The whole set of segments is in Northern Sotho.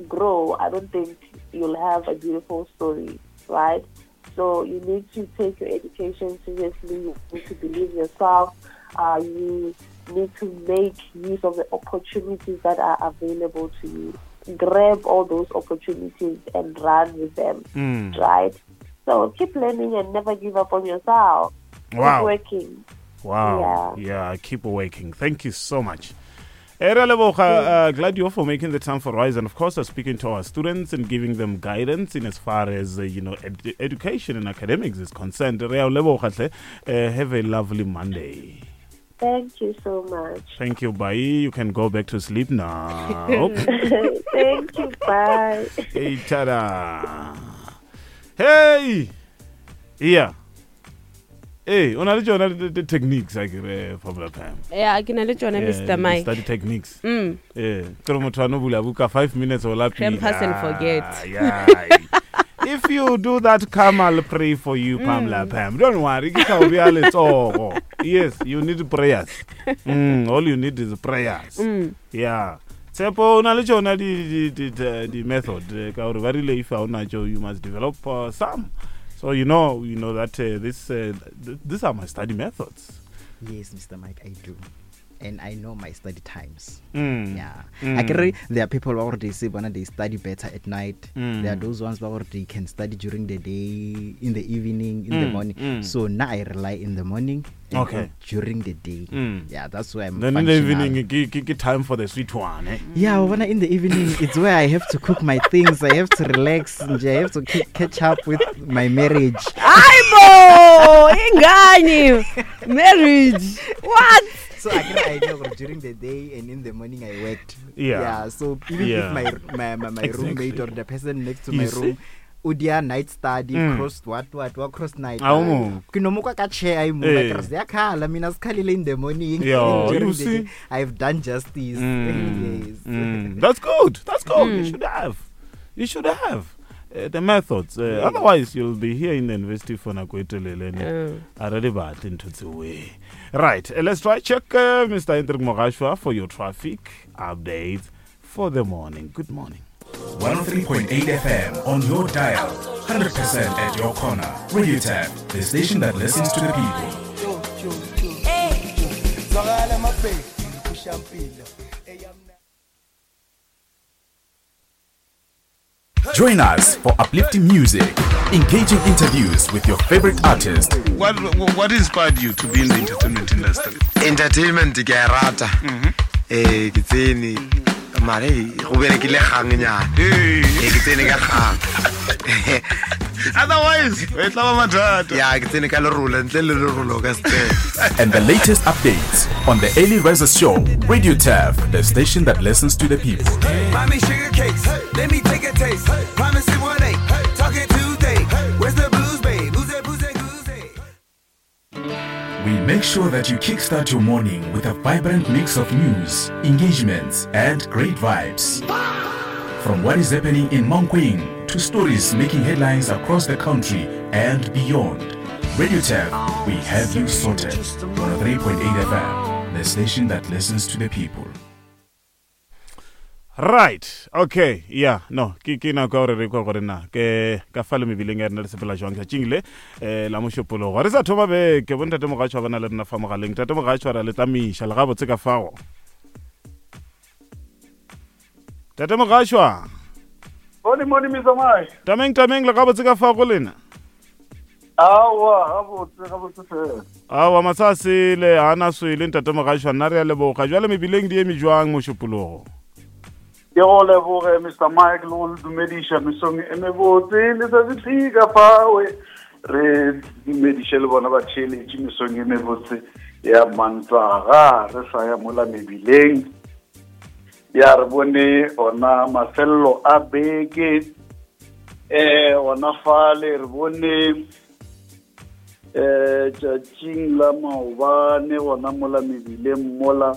grow, I don't think you'll have a beautiful story, right? So you need to take your education seriously. You need to believe yourself. Uh, you need to make use of the opportunities that are available to you. Grab all those opportunities and run with them, mm. right? So keep learning and never give up on yourself. Wow. Keep working. Wow. Yeah. yeah, keep working. Thank you so much. Era leboga, uh, glad you're for making the time for Rise, and of course, uh, speaking to our students and giving them guidance in as far as uh, you know ed- education and academics is concerned. Rea leboga hle. Uh, have a lovely Monday. Thank you so much. Thank you. Bye. You can go back to sleep now. Thank you. Bye. Hey, tada. Hey. Yeah. Ee, o na le tšona di-techniques a kere Formula Pam. Ya, ke na le tšona Mr. Mike. Study techniques. Mm. Ee, ke re motho a no bula buka 5 minutes o lapile. Pampers and forget. Yeah. If you do that, come, I'll pray for you, Pamela mm. Pam. Don't worry, ke tla o bea letsogo. Yes, you need prayers. Mm, all you need is prayers. Mm. Yeah. Tshepo o na le tšona di, di, di, di method eh, ka gore ba rile if ha o natšo you must develop uh, some. So you know, you know that uh, this uh, th these are my study methods. Yes, Mr. Mike, I do. And I know my study times. Mm. Yeah. Mm. I can there are people who already say bona they study better at night. Mm. There are those ones who already can study during the day, in the evening, in mm. the morning. Mm. So now I rely in the morning okay during the day mm. yeah that's where i'm then in the evening ke, ke, ke time for the sweet one eh? yeah when in the evening it's where i have to cook my things i have to relax and i have to catch up with my marriage aibo ingani marriage what so I can I know during the day and in the morning I worked. Yeah. Yeah. So even yeah. if my my, my, my exactly. roommate or the person next to you my see? room o dia night study mm. cross what what what cross night A o mo. ke no mo kwa ka chair ai mo Eh. ka re ziyakhala mina sikhalile in the morning Yeah, During you the see? day, I've done justice Mm. yes Mm. That's good. That's good. Mm. You should have. You should have uh, the methods. Uh, Otherwise, you'll be here in the university for nako e telele. ne? A re di batle ntho tseo. Right. Uh, let's try check uh, Mr. Hendrik Mogashwa for your traffic updates for the morning. Good morning. 103.8 FM on your dial. 100% at your corner. Radio Tap, the station that listens to the people. Join us for uplifting music, engaging interviews with your favorite artist, What, what inspired you to be in the entertainment industry? entertainment ke a e rata ee ke tsene mare go berekile gangnyana ee ke tsene ka gang Otherwise, e tla ba mathata. ya ke tsene ka lerolo ntle le lerolo o ka se tsene and the latest updates on the Early Rises Show. Radio Tap, the station that listens to the people. Mommy sugar cakes, let me take a taste. Promise it one eight, talking Tuesday. Where's the booze, babe? Who's that booze, that goose, We make sure that you kickstart your morning with a vibrant mix of news, engagements, and great vibes. From what is happening in Mankweng to stories making headlines across the country and beyond. Radio Tap, we have you sorted. 103.8 FM, the station that listens to the people. Right. Okay. Yeah. No. Ke ke nako ya gore re kwa gore na ke ka fa le mebileng ya rena re sepela jwang tšatšing le eh la mošupologo. Re sa thoma beke bo ntate Mogatšwa ba na le rena fa mogaleng. Ntate Mogatšwa ra le tamiša le gabotse ka fao. Tate Mogatšwa. Morning, morning, Mr. Mike. Tameng tameng le gabotse ka fao go lena. Aowa, gabotse, gabotse fela. Aowa masa a sele ha na swele ntate Mogatšwa nna re a leboga. Jwale mebileng di eme jwang mošupologo? Ke go leboge Mr. Mike le go le dumediša mesong e mebotse letsatsi tlhika fawe re dumediše le bona batheeletši mesong e mebotse ya Mantaga re sa ya mola mebileng ya re bone ona mafelelo a beke eh ona fale re bone eh tšatšing la maobane gona mola mebileng mola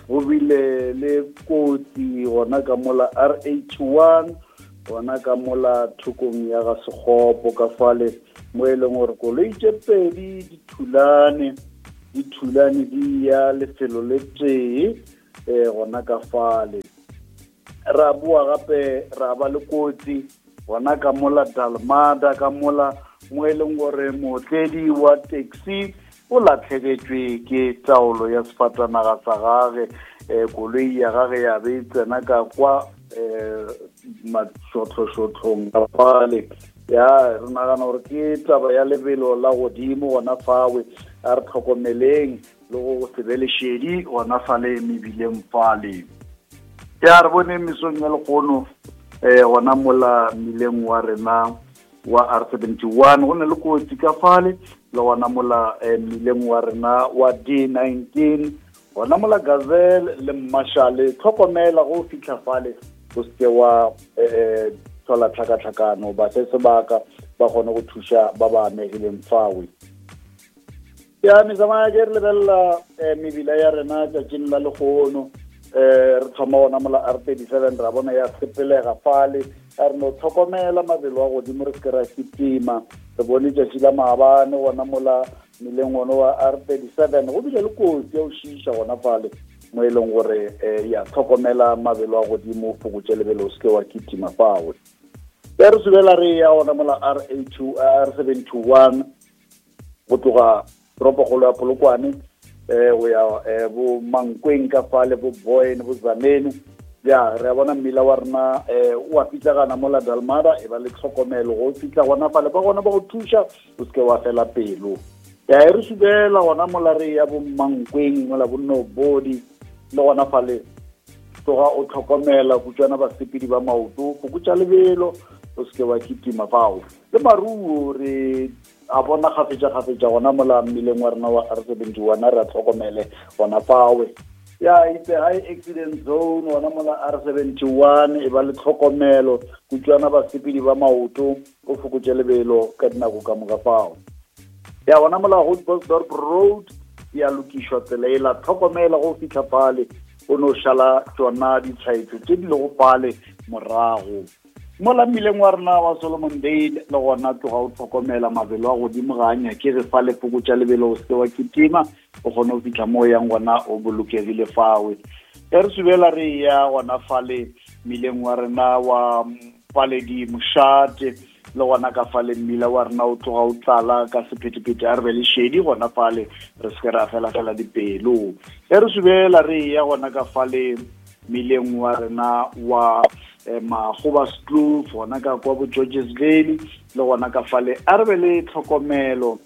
go bile le kotsi gona ka mola RH1 gona ka mola thokong ya ga Sekgopo ka fale mo e leng gore koloi tše pedi di thulane di thulane di ya lefelo le tee um gona ka fale. Ra boa gape ra ba le kotsi gona ka mola Dalmada ka mola mo e leng gore mootledi wa taxi o latlhegetšwe ke taolo ya sefatanaga sa gage um koloi ya gage ya be e tsena ka kwa um mašohlošohlong ka fale ya re nagana gore ke taba ya lebelo la godimo gona fawe a re tlhokomeleng le go se be lešedi gona fale mebileng fale ya re bone mesong ya lekgono um gona mola mmileng wa rena wa r 71 go na le kotsi ka fale le gona mola eh, mmileng wa rena wa d 19 gona mola gazelle le mmashale tlhokomela go fitlha fale o seke wa um tlhola tlhakatlhakano ba se sebaka ba kgone go thuša ba ba amegileng fawe ya metsamaya ke re lebelela um mebila ya rena tšatšing la legono um re thoma gona mola r 37 ra bona ya sepelega fale a re no tlhokomela mabelo a godimo re seke ra kitima re bone tšatši la maabane gona mola meleng one wa r 37 go bile le kotsi ya go šiiša gona fale mo e leng gore um ya tlhokomela mabelo a godimo fokotše lebelo o seke wa kitima fawe ya re subela re ya gona mola r 2 r 721 go tloga toropokgolo ya polokwane um go ya um bo mankweng ka fale bo boyne bo zamene ya re a bona mmila wa rena um o a pitlagana mo la dalmada e ba le tlhokomelo go fitlha gona fale ba gona ba go thuša o seke wa fela pelo ya e re subela gona mola re ya bo mankweng mola bonnobodi le gona fale tloga o tlhokomela kutswana basepedi ba maoto fokotša lebelo o seke wa kitima fao le maruo re a bona gafetša-gafetša gona mola mmileng wa rena wa r 71 re a tlhokomele gona fawe ya itse high accident zone gona mola r 71 e ba le tlhokomelo kutswana basepedi ba maoto o fokotše lebelo ka dinako ka moka fao ya gona mola Grootbosdorp road ya lokišwa tsela e la tlhokomela go fitlha fale o no šala tšona ditshwaetso tše di lego fale morago mola mmileng wa rena wa solomon dale le gona tloga o tlhokomela mabelo a godimo ga a nyakege fa le fokotša lebelo o seke wa kitima o kgone go fitlha mo o yang gona o bolokegile fawe e re subela re ya gona fale mmileng wa rena wa paledi mošate le gona ka fale mmila wa rena o tloga o tlala ka sephetephete a re be le šedi gona fale re seke ra fela fela dipelo e re subela re ya gona ka fale mmileng wa rena wa eh, magoba skloof gona ka kwa bo georges valley le gona ka fale a re be le tlhokomelo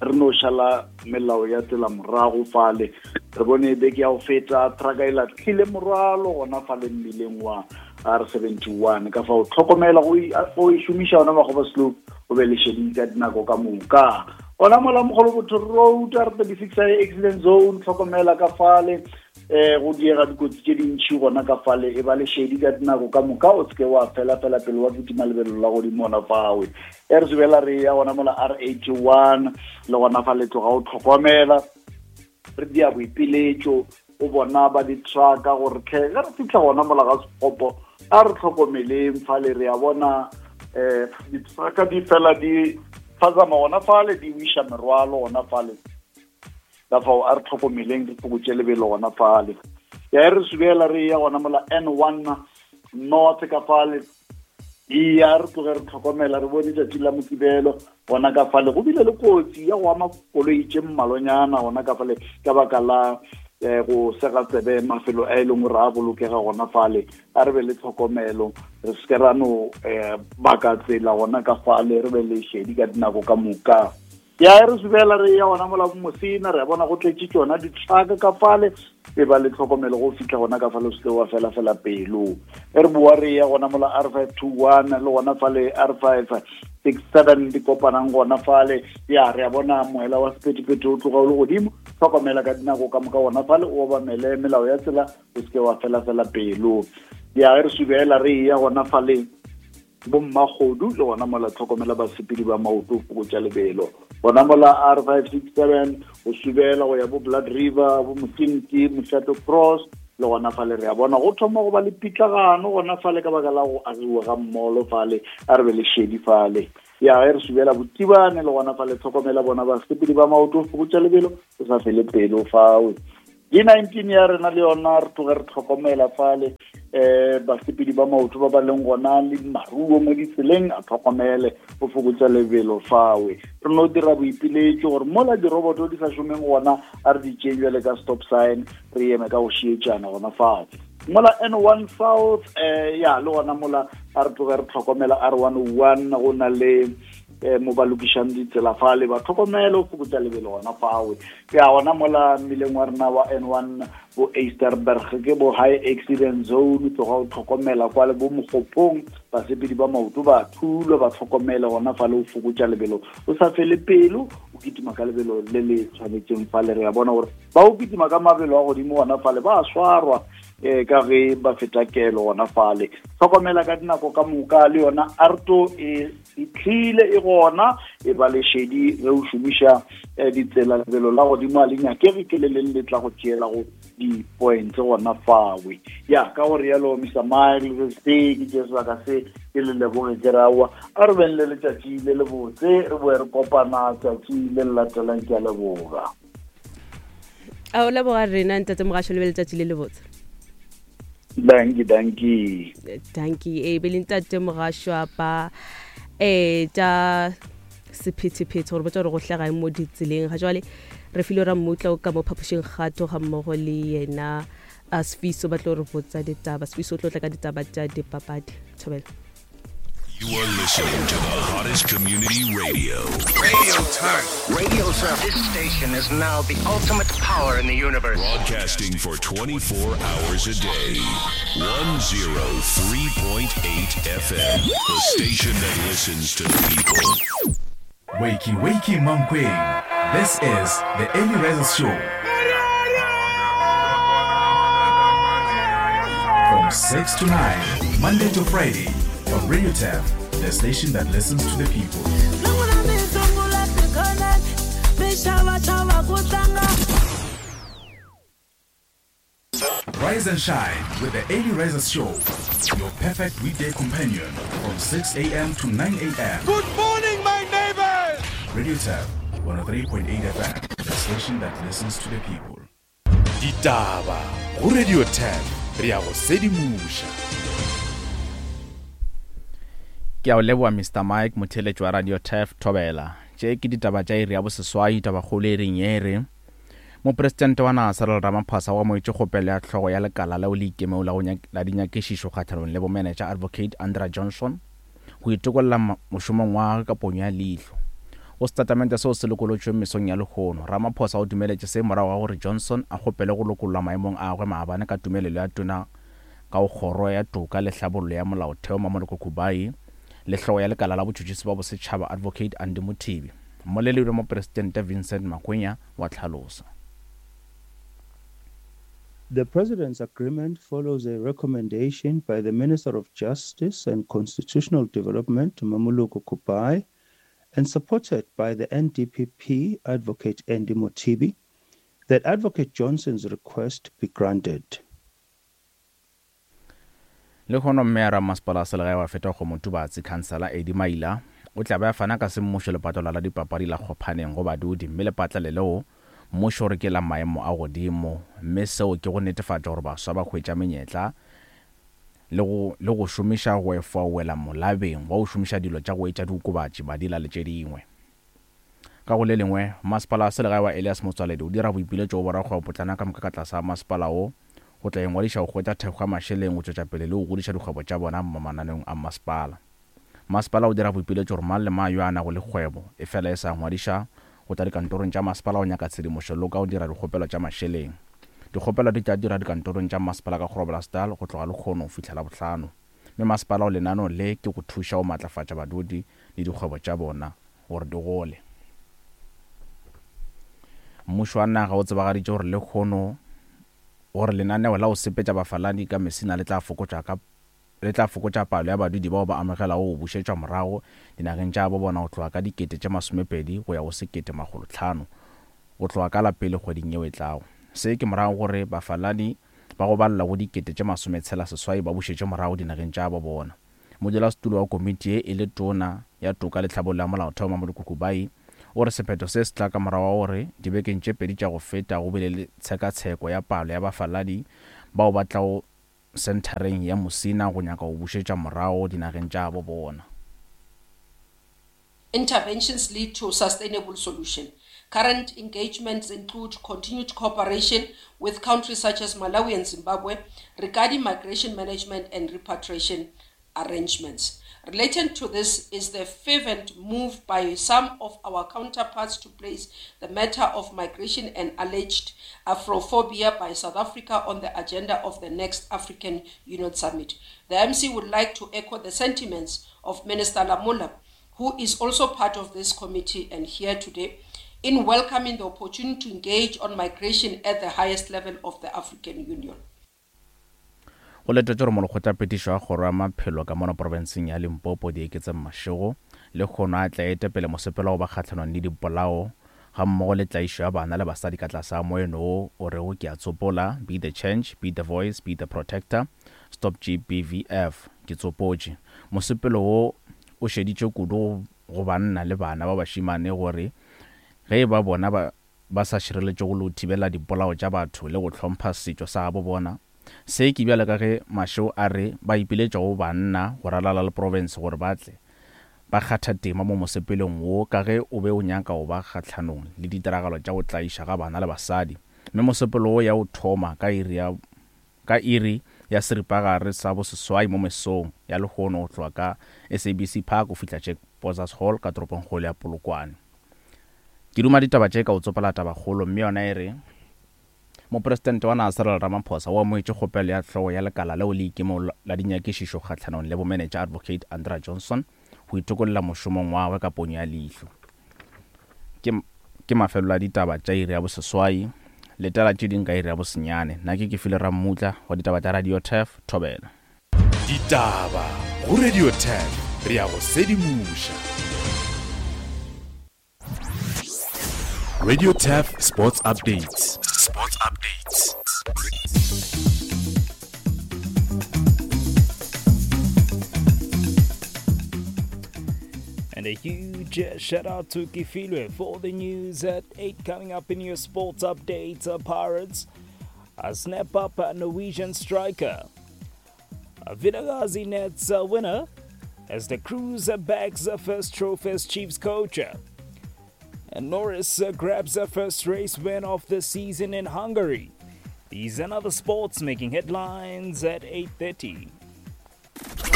re no šala melao ya tsela morago fale re bone beke ya go feta trucka e latlhile morwalo gona fale mmileng wa r 71 ka fao tlhokomela go e šomiša ona magoba slope o be le šedi ka dinako ka moka gona mola mogolo botho road r 36 accident zone tlhokomela ka fale eh go diega dikotsi tše dintšhi gona ka fale e ba le šedi ka dinako ka moka o seke wa fela fela pele wa kitima lebelo la godimo gona fawe e re sebela re ya gona mola r 81 le gona fa le tloga o tlhokomela re dia boipiletšo o bona ba di-trucka gore tlhe ge re fitlha gona mola ga sekgopo a re tlhokomeleng fale re ya bona um di-trucka di fela di phazama gona fale di wiša merwalo gona fale ka fao a re tlhokomeleng re fokotše lebelo gona fale ya e re subela re ya gona mola n one north ka fale iya re tloge re tlhokomela re bone tšatši la mokibelo gona ka fale go bile le kotsi ya go ama koloi tše mmalwanyana gona ka fale ka baka la um go sega tsebe mafelo a e leng gore a bolokega gona fale a re be le tlhokomelo re seke ra no um baka tsela gona ka fale re be le šedi ka dinako ka moka ya e re subela re ya gona mola mosina re bona go tletše tšona ditlhaka ka fale e ba le tlhokomelo go fitlha gona ka fale o seke wa fela fela pelo e re boa re ya gona mola r 521 le gona fale r 567 di kopanang gona fale ya re a bona moela wa sephethephethe o tloga o le godimo tlhokomela ka dinako ka moka gona fale o obamele melao ya tsela o seke wa fela fela pelo ya e re subela re ya gona fale bommakgodu le gona mola tlhokomela basepedi ba maoto fokotša lebelo gona mola r 567 go subela go ya bo blood river bo motinti mošato cross le gona fale re a bona go thoma go ba le pitlagano gona fale ka baka la go agiwa ga mmolo fale a re be le šedi fale ya ge re subela botibane le gona fale tlhokomela bona basepedi ba maoto fokotša lebelo o sa fele pelo fawe. D19 ya rena le yona re tloge re tlhokomela fale um basepedi ba maoto ba ba leng gona le maruo mo ditseleng a tlhokomele go fokotsa lebelo fawe re no dira boipiletšo gore mola diroboto di sa šomeng gona a re di tšeng jale ka stop sign re eme ka go šietšana gona fao mola n one south um ya le gona mola a re tloge re tlhokomela r one oh one go na le um mo ba lokišang ditsela fale ba tlhokomele go fokotsa lebelo gona fawe ya gona mola mmileng wa rena wa n one bo Easterberg ke bo high accident zone tloga o tlhokomela kwa le bo mogopong basepedi ba maoto ba thulwa ba tlhokomele gona fa le o fokotša lebelo o sa fele pelo o kitima ka lebelo le le tshwanetseng fa le re ya bona gore ba o kitima ka mabelo a godimo gona fale ba swarwa um ka ge ba feta kelo gona fale tlhokomela ka dinako ka moka le yona arto e fitlhile e gona e ba lešedi ge o šomiša eh, ditsela lebelo la godimo a le nyakege ke le leng le tla go tšeela go di-points gona fawe ya ka gore yalo mr mile se ke tše sebaka se ke le leboge ke rawa a re beng le letšatši le le botse re boe re kopana tšatši le le latelang ke a leboga a o leboga rena ntate mogašo le be letšatši le le botse danki danki danki e be le ntate mogašwa ba um tša sephethephethe gore botsa gore go hlega mo ditseleng ga jwale re file ra mmutla o ka mo phapošeng kgato ga mmogo le yena a sefiso ba tlo re botsa ditaba sefiso o tlo tla ka ditaba tša dipapadi thobela You are listening to the hottest community radio. Radio Turf. Radio Turf. This station is now the ultimate power in the universe. Broadcasting for 24 hours a day. 103.8 FM. The station that listens to the people. Wakey, wakey, Mankweng. This is the Early Risers Show. From 6 to 9, Monday to Friday, on Radio Tap, the station that listens to the people. Rise and shine with the Early Risers Show, your perfect weekday companion from 6 a.m. to 9 a.m. Good morning, my neighbors! Radio Tap, 103.8 FM, the station that listens to the people. Ditaba go Radio 10 re ya go sedimoša. Ke a o leboa Mister Mike, motheeletši wa Radio Turf, Thobela. Tše ke ditaba tša iri ya boseswai, tabakgolo e reng ye re, Mopresidente wa naga Cyril Ramaphosa o amogetše kgopelo ya hlogo ya lekala leo le ikemego la go la dinyakišišo kgahlanong le bomenetša Advocate Andrea Johnson go itokolla mošomong wa gagwe ka ponyo ya leihlo. Go setatamente seo se lokolotšweng mesong ya lehono, Ramaphosa o dumeletše se morago ga gore Johnson a kgopele go lokollwa maemong a gagwe maabane ka tumelelo ya Tona ka go Kgoro ya Toka le Hlabollo ya Molaotheo Mamoloko Kubayi le hlogo ya lekala la botšhotšhisi ba bosetšhaba Advocate Andy Mothibi. Mmoleledi wa Mopresidente Vincent Makwenya wa hlalosa. The President's agreement follows a recommendation by the Minister of Justice and Constitutional Development, Mamoloko Kubayi, and supported by the NDPP Advocate Andy Mothibi, that Advocate Johnson's request be granted. Lehono Mmeyara wa Masepala wa Selegae wa Fetakgomo Tubatse, Khansela Eddie Maila, o tla be a fana ka semmušo lepatola la dipapadi la Kgophaneng go badudi mme lepatlele leo mmušo o re ke la maemo a godimo mme seo ke go netefatša gore baswa ba hwetša menyetla le go le go šomiša go efoa wela molabeng wa go šomiša dilo tša go etša diokobatši, madila le tše dingwe. Ka go le lengwe, Masepala wa Selegae wa Elias Motsoaledi o dira boipiletšo go borakgwebopotlana ka moka ka tlase ga masepala wo go tla ingwadiša go hwetša thekgo ya mašeleng go tšwetša pele le go godiša dikgwebo tša bona mo mananeong a masepala. Masepala o dira boipiletšo gore mang le mang yo a nago le kgwebo efela e sa ngwadiša go tla dikantorong tša masepala go nyaka tshedimošo le ka go dira dikgopelo tša mašeleng. Dikgopelo di tla dirwa dikantorong tša masepala ka Groblersdal go tloga lekgono go fihla Labohlano. Mme masepala o lenaneo le ke go thuša go matlafatša badudi le dikgwebo tša bona gore di gole. Mmušo wa naga o tsebagaditše gore lehono gore lenaneo la go sepetša bafaladi ka Messina le tla fokotša ka le tla fokotša palo ya badudi bao ba amogelago go bušetšwa morago dinageng tša gabo bona go tloga ka 20,000 go ya go 1,500 go tloga ka la pele kgweding yeo e tlago. Se ke morago gore bafaladi ba go balelwa go 68,000 ba bušetšwe morago dinageng tša gabo bona. Modulasetulo wa komiti ye e le Tona ya Toka le Tlhabollo ya Molaotheo Mamoloko Kubayi O re sephetho se se tla ka morago ga gore dibekeng tše pedi tša go feta go bile le tshekatsheko ya palo ya bafaladi bao ba tlago senthareng ya Musina go nyaka go bušetša morago dinageng tša gabo bona. Interventions lead to sustainable solution. Current engagements include continued cooperation with countries such as Malawi and Zimbabwe regarding migration management and repatriation arrangements. Related to this is the fervent move by some of our counterparts to place the matter of migration and alleged Afrophobia by South Africa on the agenda of the next African Union Summit. The MC would like to echo the sentiments of Minister Lamola, who is also part of this committee and here today, in welcoming the opportunity to engage on migration at the highest level of the African Union. Go letetšwe gore molekgotlaphethiši wa kgoro ya maphelo ka mono profenseng ya Limpopo Dieketseng Mashego lehono a tle a ete pele mosepelo wa go ba kgahlanong le dipolao gammogo le tlaišo ya bana le basadi ka tlase ga moeno wo o rego ke a tsopola, Be the change, be the voice, be the protector, stop GBVF. Ke tsopotše. Mosepelo wo o šeditše kudu go banna le bana ba bašemane gore ge e ba bona ba ba sa šireletšego le go thibela dipolao tša batho le go hlompha setšo sa gabo bona. Se ke bjalo ka ge Mashego a re ba ipiletša go banna go ralala le profense gore ba tle ba kgatha tema mo mosepelong wo ka ge o be o nyaka go ba kgahlanong le ditiragalo tša go tlaiša ga bana le basadi mme mosepelo wo ya o thoma ka iri ya ka iri ya seripagare sa boseswai mo mesong ya lehono go tloga ka SABC Park go fihla Jack Bozas Hall ka toropongkgolo ya Polokwane. Ke duma ditaba tše ka go tsopola tabakgolo mme yona e re, Mopresidente wa naga Cyril Ramaphosa o amogetše kgopelo ya hlogo ya lekala leo le ikemego la dinyakišišo kgahlanong le bomenetša Advocate Andrea Johnson go itokolla mošomong wa gagwe ka ponyo ya leihlo. Ke, ke mafelelo a ditaba tša iri ya boseswai. Letela tše ding ka iri ya bosenyane. Nna ke Kefile Rammutla wa ditaba tša Radio Turf, Thobela. Ditaba go Radio Turf, re a go sedimoša. Radio Turf Sports Updates. Sports Updates. And a huge shout out to Kifilwe for the news at 8 coming up in your sports updates. Pirates a snap up a Norwegian striker. A Vilakazi nets a winner as the Cruz bags the first trophy as Chiefs coach. And Norris grabs the first race win of the season in Hungary. These and other sports making headlines at 8.30.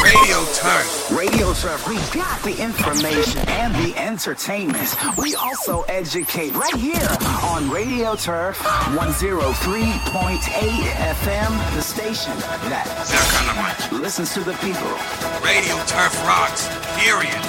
Radio Turf. Radio Turf. We got the information and the entertainment. We also educate right here on Radio Turf 103.8 FM, the station that listens to the people. Radio Turf rocks. Period.